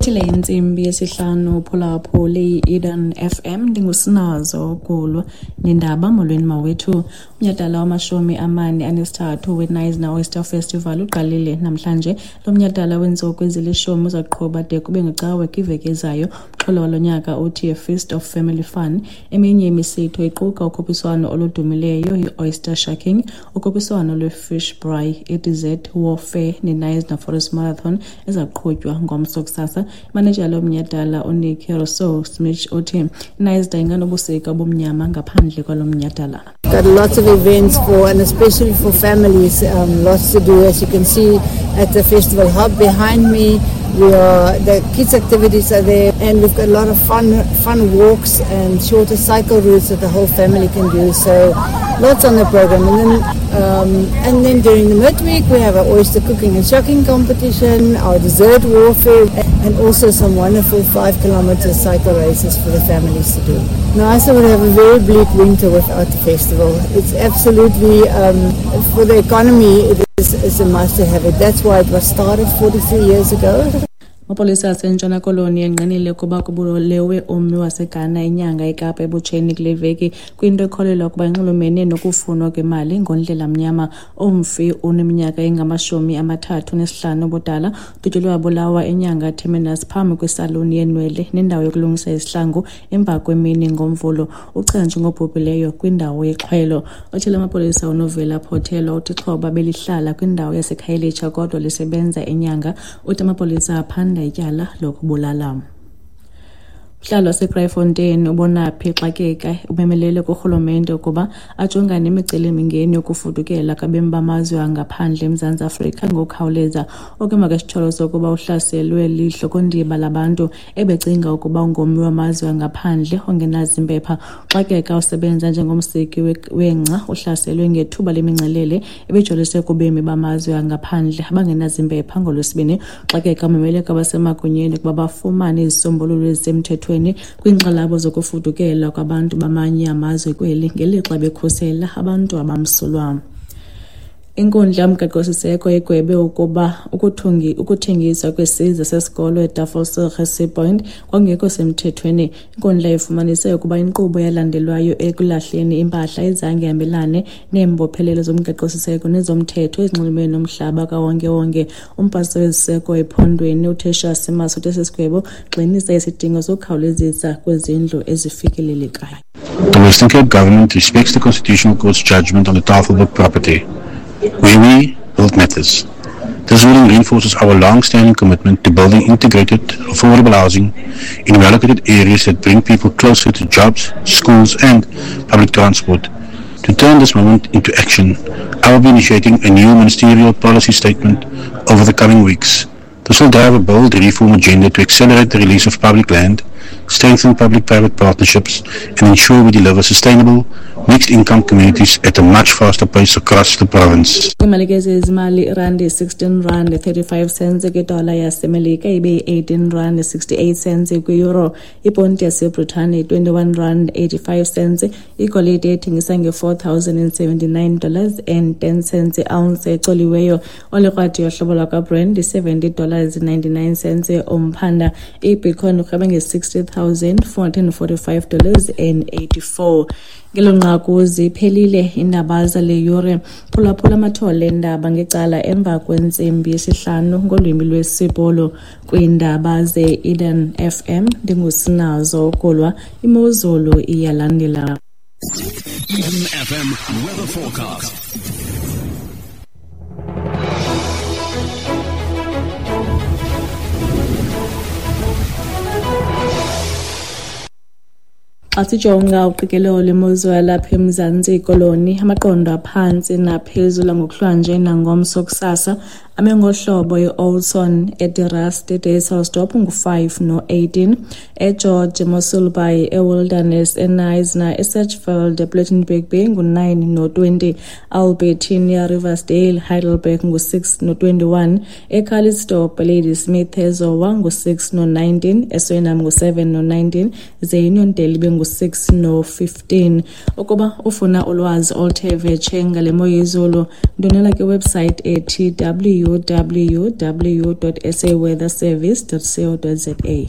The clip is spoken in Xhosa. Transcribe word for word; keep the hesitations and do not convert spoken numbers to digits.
Ibethile intsimbi yesihlanu phulaphuli i-Eden F M ndingusinazo Gulwa nendaba. Molweni mawethu. Umnyhadala wamashumi amane anesithathu weKnysna Oyster Festival uqalile namhlanje. Lo mnyhadala weentsuku ezilishumi uzaqhuba de kube ngeCawe kwiveki ezayo. Umxholo walo nyaka uthi A Feast of Family Fun. Eminye imisitho iquka ukhuphiswano oludumileyo i-Oyster Shucking, ukhuphiswano lwe-Fish Braai, i-Dessert Warfare neKnysna Forest Marathon ezaqhutywa ngomso kusasa. Imanejala yomnyhadala uNikki Rousseau Smith uthi iKnysna inganobusika obumnyama ngaphandle kwalo mnyhadala. Got lots of events for, and especially for families, um, lots to do. As you can see at the festival hub behind me, we are, the kids' activities are there, and we've got a lot of fun, fun walks and shorter cycle routes that the whole family can do. So lots on the program. And then, um, and then during the midweek we have our oyster cooking and shucking competition, our dessert warfare, and also some wonderful five kilometer cycle races for the families to do. Knysna would have a very bleak winter without the festival. It's absolutely, um, for the economy, it is, is a must to have it. That's why it was started forty-three years ago. Amapolisa aseNtshona Koloni engqinile ukuba kubulewe ummi waseGhana inyanga eKapa ebutsheni kule veki kwinto ekholelwa ukuba inxulumene nokufunwa kwemali ngondlela mnyama. Umfi uneminyaka engamashumi amathathu nesihlanu ubudala, udutyulwe wabulawa eNyanga Terminus phambi kwesaluni yenwele nendawo yokulungisa izihlangu emva kwemini ngoMvulo. Uchazwe njengobhubhileyo kwindawo yexhwelo. Othile amapolisa uNovela Photelo uthi ixhoba belihlala kwindawo yaseKhayelitsha kodwa lisebenza eNyanga. Uthi amapolisa aphanda ityala lokubulala. Umhlali waseKraaifontein uBonaphi Xakeka umemelele kurhulumente ukuba ajongane nemicelimingeni yokufudukela kwabemi bamazwe angaphandle eMzantsi Afrika ngokukhawuleza. Oku emva kwesityholo sokuba uhlaselwe lihlokondiba labantu ebecinga ukuba ungummi wamazwe angaphandle ongenazimpepha. Xakeka usebenza njengomsiki wengca uhlaselwe ngethuba lemingcelele ebijolise kubemi bamazwe angaphandle abangenazimpepha ngoLwesibini. Xakeka umemele kwabasemagunyeni ukuba bafumane izisombululo ezisemthethweni kwiinkxalabo zokufudukela kwabantu bamanye amazwe kweli ngelixa bekhusela abantu abamsulwa. Inkundla yomgaqo-siseko igwebe ukuba ukuthengiswa kwesiza sesikolo eTafelsig eSea Point kwakungekho semthethweni. Inkundla ifumanise ukuba inkqubo eyalandelwayo ekulahleni impahla ayizange ihambelane neembophelelo zomgaqo-siseko nezomthetho ezinxulumene nomhlaba kawonkewonke. Umphathiswa weziseko ephondweni uTertuis Simmers uthe esi sigwebo gxinisa isidingo sokukhawulezisa kwezindlu ezifikelelekayo. The Western Cape government respects the Constitutional Court's judgment on the Tafelberg property, where we build matters. This ruling reinforces our long-standing commitment to building integrated, affordable housing in well-located areas that bring people closer to jobs, schools and public transport. To turn this moment into action, I will be initiating a new ministerial policy statement over the coming weeks. This will drive a bold reform agenda to accelerate the release of public land, strengthen public-private partnerships, and ensure we deliver sustainable, mixed-income communities at a much faster pace across the province. Imali ke zezimali irandi sixteen rand thirty-five cents kwidola yaseMelika ibe eighteen rand sixty-eight cents kwi-euro. Iponti yaseBritane twenty-one rand eighty-five cents. Igolide ethengisa nge-four thousand and seventy-nine dollars and ten cents ounce ecoliweyo. Olikrwadi yohlobo lwakwaBrand seventy dollars ninety-nine cents umphanda. I-Bitcoin urhweba nge-sixty thousand four hundred and forty-five dollars and eighty-four. Ngelo nqaku ziphelile iindaba zale yure. Phulaphula amathole eendaba ngecala emva kwentsimbi yesihlanu ngolwimi lwesiBhulu. Kwiindaba ze-Eden F M ndingusinazo Gulwa. Imozulu iyalandela. Eden F M weather forecast. Xa sijonga uqikelelo lwemozulu yalapha eMzantsi Koloni, amaqondo aphantsi naphezulu ngokuhlwanje nangomso kusasa ame ngohlobo eOldson, eDerust, eDysselsdorp ngu-five no-eighteen, eGeorge, eMossel Bay, eWilderness, eKnysna, eSedgefield, ePlettenberg Bay ngu-nine no-twenty, Albertinia, Riversdale, Heidelberg ngu-six no-twenty-one, eCalitzdorp, Ladysmith, eZowa ngu-six no-nineteen, eSuriname ngu-seven no-nineteen, ze Uniondale ibe ngu-six no-fifteen. Ukuba ufuna ulwazi oluthe vetshe ngale mo yezulu, ndonela kwiwebsite ethi w W W W dot S A weather service dot co dot Z A.